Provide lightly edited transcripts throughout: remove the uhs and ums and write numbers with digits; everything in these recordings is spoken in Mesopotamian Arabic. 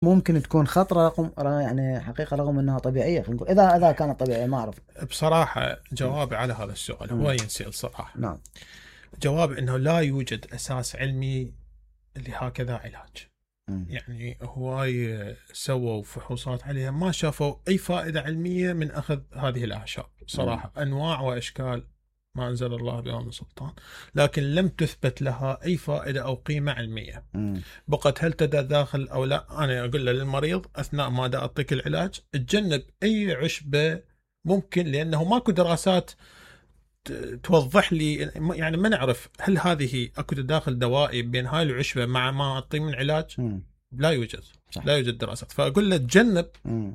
ممكن تكون خطرة يعني حقيقة رغم انها طبيعية، خلينا نقول اذا كانت طبيعية ما اعرف. بصراحة جوابي على هذا السؤال هو ينسأل صراحة. نعم. جواب انه لا يوجد اساس علمي لهكذا علاج. يعني هواي سووا فحوصات عليها ما شافوا اي فائدة علمية من اخذ هذه الاعشاب صراحة. انواع واشكال ما انزل الله بها من سلطان، لكن لم تثبت لها اي فائدة او قيمة علمية. بقت هل تتداخل او لا؟ انا اقول للمريض اثناء ما دا اعطيك العلاج تجنب اي عشبة ممكن، لانه ماكو دراسات توضح لي. يعني ما نعرف هل هذه اكو تداخل دوائي بين هاي العشبة مع ما اعطيه من علاج. لا يوجد. صح. لا يوجد دراسات. فاقول له تجنب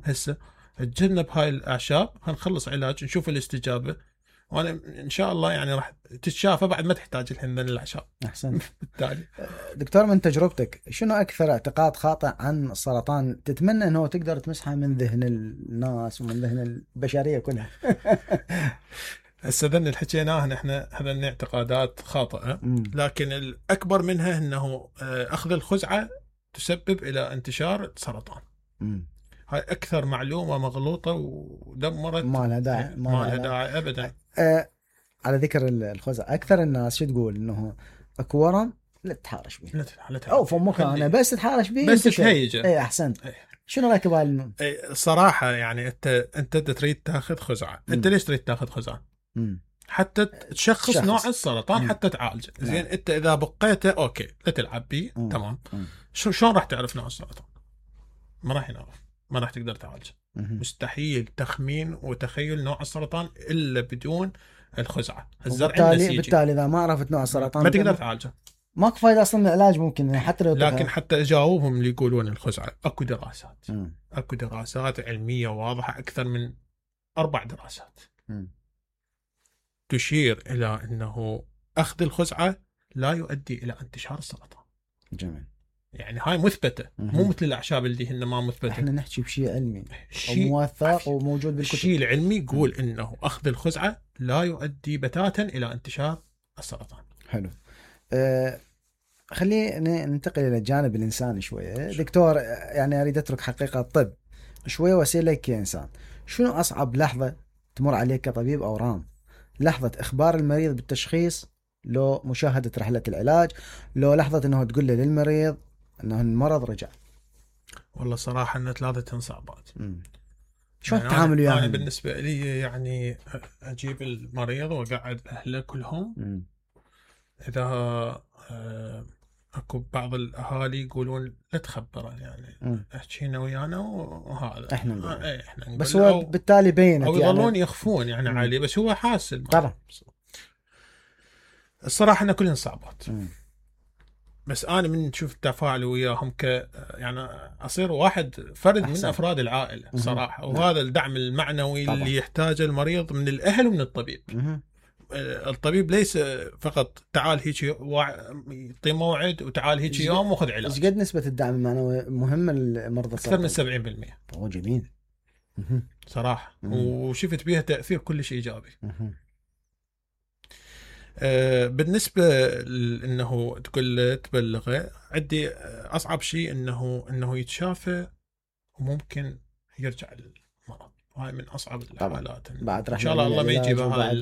هسه، تجنب هاي الاعشاب، هنخلص علاج نشوف الاستجابة، وانا ان شاء الله يعني راح تتشافى بعد ما تحتاج الحين من الاعشاب. احسن. بالتالي دكتور من تجربتك شنو اكثر اعتقاد خاطئ عن السرطان تتمنى انه تقدر تمسحه من ذهن الناس ومن ذهن البشرية كلها؟ هسه ذن اللي حكيناه احنا هذا اعتقادات خاطئة، لكن الاكبر منها انه اخذ الخزعة تسبب الى انتشار سرطان. هاي اكثر معلومة مغلوطة ودمرت، ما لها داعي. ما لها داعي ابدا. على ذكر الخزعة، اكثر الناس شو تقول؟ انه اكو ورم لا تتحارش به، لا او فمك انا بس تتحارش به بس تهيجه. اي احسنت. شنو رايك بهال؟ صراحة يعني انت تريد تاخذ خزعة. انت ليش تريد تاخذ خزعة؟ حتى تشخص نوع السرطان، حتى تعالجه. زين انت اذا بقيته اوكي لا تلعب به تمام. شلون راح تعرف نوع السرطان؟ ما راح ينعرف، ما راح تقدر تعالجه. مستحيل تخمين وتخيل نوع السرطان الا بدون الخزعة. الزرع بالتالي اذا ما عرفت نوع السرطان ما تقدر تعالجه. ماكو فايده اصلا من العلاج ممكن حتى لو لكن حتى جاوبهم اللي يقولون الخزعة اكو دراسات. اكو دراسات علمية واضحة، اكثر من 4 دراسات تشير الى انه اخذ الخزعة لا يؤدي الى انتشار السرطان. جميل. يعني هاي مثبتة، مو مثل الاعشاب اللي هن ما مثبتة. احنا نحكي بشيء علمي وموثق وموجود بالكتب. الشيء العلمي يقول انه اخذ الخزعة لا يؤدي بتاتا الى انتشار السرطان. حلو. خلينا ننتقل الى الجانب الانساني شويه. دكتور يعني اريد اترك حقيقه الطب شويه واسالك كإنسان، شنو اصعب لحظه تمر عليك كطبيب اورام؟ لحظه اخبار المريض بالتشخيص، لو مشاهده رحله العلاج، لو لحظه انه تقول له للمريض انه المرض رجع؟ والله صراحه ان 3 صعبات. شلون تتعامل وياهم؟ أنا بالنسبه لي يعني اجيب المريض واقعد اهله كلهم. اذا اكو بعض الاهالي يقولون لا تخبره، يعني احكينا ويانا وهذا احنا نقول بس هو بالتالي بينت او يظلون يعني يخفون يعني عالي، بس هو حاسل طبعا. الصراحه ان كلهم صعبات. بس انا من نشوف التفاعل وياهم يعني اصير واحد فرد أحسن. من افراد العائله صراحه. وهذا الدعم المعنوي طبعا. اللي يحتاجه المريض من الاهل ومن الطبيب. الطبيب ليس فقط تعال هيك يعطي موعد وتعال هيك يوم وخذ علاج. ايش قد نسبه الدعم المعنوي مهم للمرضى السرطان؟ اكثر من 70%. هو جميل صراحه. وشفت بيها تاثير كلش ايجابي. بالنسبه انه تقول تبلغه، عندي اصعب شيء انه يتشافى وممكن يرجع للمرض. هاي من اصعب الحالات. ان شاء الله ما يجيبها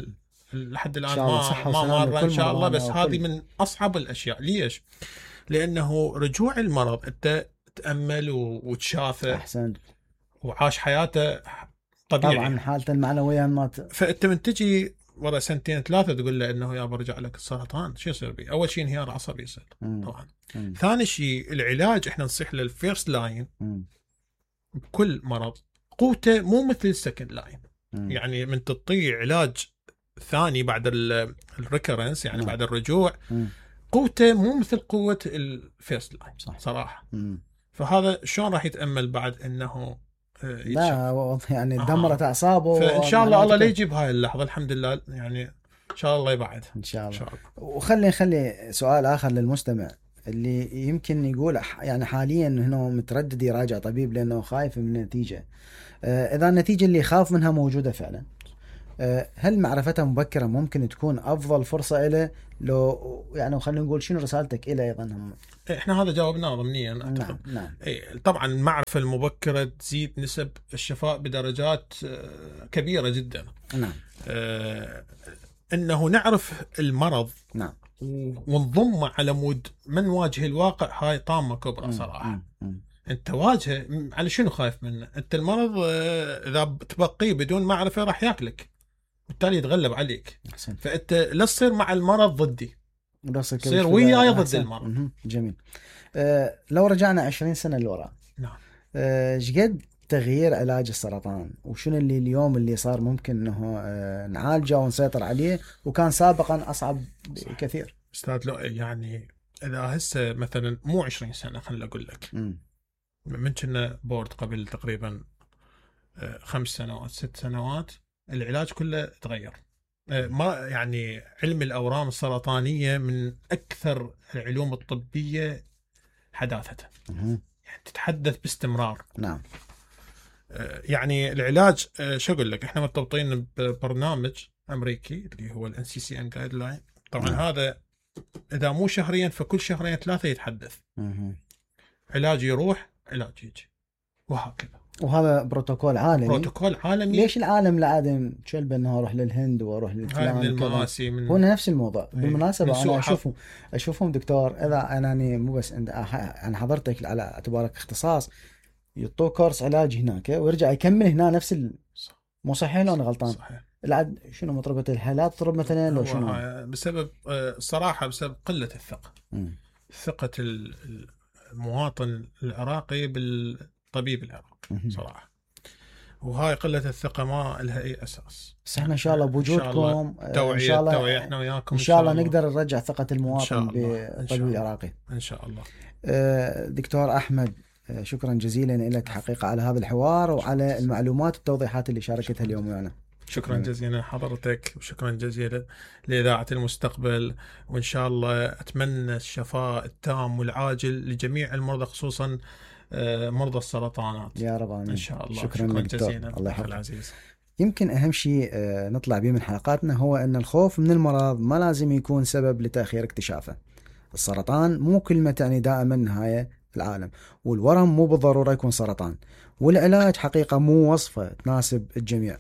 لحد الان ما مر ان شاء الله. بس هذه من اصعب الاشياء. ليش؟ لانه رجوع المرض انت تامل وتشافى احسن وعاش حياته طبيعي. طبعا حالته المعنويه ما فانت من تجي ورا 2-3 تقول له انه يا برجع لك السرطان، شو يصير بي؟ اول شيء انهيار عصبي يصير طبعا. ثاني شيء العلاج احنا نصيح للفيرست لاين بكل مرض قوته مو مثل السكند لاين. يعني من تطيع علاج ثاني بعد الريكرنس يعني بعد الرجوع قوته مو مثل قوة الفيرست لاين صراحة. فهذا شلون راح يتأمل بعد انه لا يعني دمرت اعصابه. فان شاء الله لا يجيب هاي اللحظة. الحمد لله يعني ان شاء الله يبعد ان شاء الله. وخلي سؤال اخر للمستمع اللي يمكن يقول يعني حاليا انه متردد يراجع طبيب لانه خايف من النتيجة. اذا النتيجة اللي يخاف منها موجودة فعلا هل معرفتها مبكرة ممكن تكون أفضل فرصة إله؟ لو يعني خلينا نقول شنو رسالتك إله أيضا هم؟ احنا هذا جاوبناه ضمنيا نعم. طبعا المعرفة المبكرة تزيد نسب الشفاء بدرجات كبيرة جدا. نعم. انه نعرف المرض نعم ونضمه على مود من واجه الواقع، هاي طامة كبرى صراحة. انت واجهه على شنو خايف منه؟ انت المرض اذا تبقيه بدون معرفة راح ياكلك، بالتالي يتغلب عليك. أحسن. فانت لا تصير مع المرض ضدي، تصير وياي ضد المرض. جميل. لو رجعنا 20 سنة لورا، نعم، شقد تغيير علاج السرطان وشنو اللي اليوم اللي صار ممكن انه نعالجه ونسيطر عليه وكان سابقا اصعب كثير؟ استاذ لو يعني اذا هسه مثلا مو 20 سنة خليني اقول لك، من كنا بورد قبل تقريبا 5 سنوات 6 سنوات العلاج كله تغير. ما يعني علم الأورام السرطانية من أكثر العلوم الطبية حداثة، يعني تتحدث باستمرار. نعم. يعني العلاج شو أقول لك، إحنا مرتبطين ببرنامج أمريكي اللي هو NCCN Guideline. طبعا هذا إذا مو شهريا فكل شهرين 3 يتحدث. علاج يروح علاج يجي وهكذا، وهذا بروتوكول عالمي. ليش العالم العادم شلب انه اروح للهند واروح للفلان هو نفس الموضوع. بالمناسبه انا اشوفهم دكتور، اذا انني مو بس انا حضرتك على اعتبارك اختصاص، يعطوه كورس علاج هناك ويرجع يكمل هنا نفس مو صحيح لو انا غلطان؟ صحيح. العد شنو مطربه الحالات تضرب مثلا لو شنو؟ بسبب صراحه بسبب قله الثقه. ثقه المواطن العراقي بالطبيب العراقي صراحه، وهاي قله الثقه ما لها اي اساس. بس احنا ان شاء الله بوجودكم توعيه احنا وياكم ان شاء الله نقدر نرجع ثقه المواطن بالطبيب العراقي ان شاء الله. دكتور احمد، شكرا جزيلا لك حقيقه على هذا الحوار وعلى المعلومات والتوضيحات اللي شاركتها اليوم معنا. شكرا جزيلا حضرتك، وشكرا جزيلا لإذاعة المستقبل، وإن شاء الله أتمنى الشفاء التام والعاجل لجميع المرضى، خصوصا مرضى السرطانات يا رب. إن شاء الله. شكرا جزيلا. الله يحفظك العزيز. يمكن أهم شيء نطلع به من حلقاتنا هو أن الخوف من المرض ما لازم يكون سبب لتأخير اكتشافه. السرطان مو كلمة تعني دائما نهاية العالم، والورم مو بالضرورة يكون سرطان، والعلاج حقيقة مو وصفة تناسب الجميع.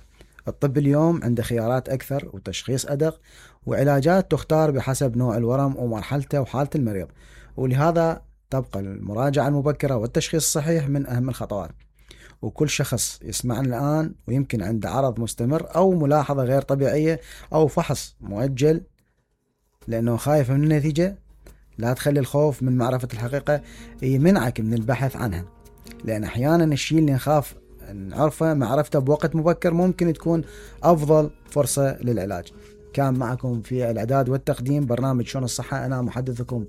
الطب اليوم عنده خيارات أكثر وتشخيص أدق وعلاجات تختار بحسب نوع الورم ومرحلته وحالة المريض، ولهذا تبقى المراجعة المبكرة والتشخيص الصحيح من أهم الخطوات. وكل شخص يسمعنا الآن ويمكن عنده عرض مستمر أو ملاحظة غير طبيعية أو فحص مؤجل لأنه خايف من النتيجة، لا تخلي الخوف من معرفة الحقيقة يمنعك من البحث عنها، لأن أحيانا الشيء اللي نخاف نعرفه معرفته بوقت مبكر ممكن تكون أفضل فرصة للعلاج. كان معكم في الإعداد والتقديم برنامج شؤون الصحة أنا محدثكم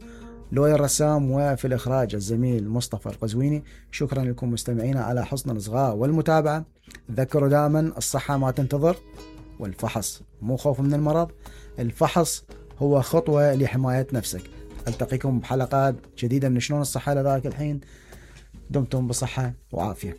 لؤي الرسام، وفي الإخراج الزميل مصطفى القزويني. شكرا لكم مستمعينا على حسن الإصغاء والمتابعة. تذكروا دائما الصحة ما تنتظر، والفحص مو خوف من المرض، الفحص هو خطوة لحماية نفسك. ألتقيكم بحلقات جديدة من شؤون الصحة. لذلك الحين دمتم بصحة وعافية.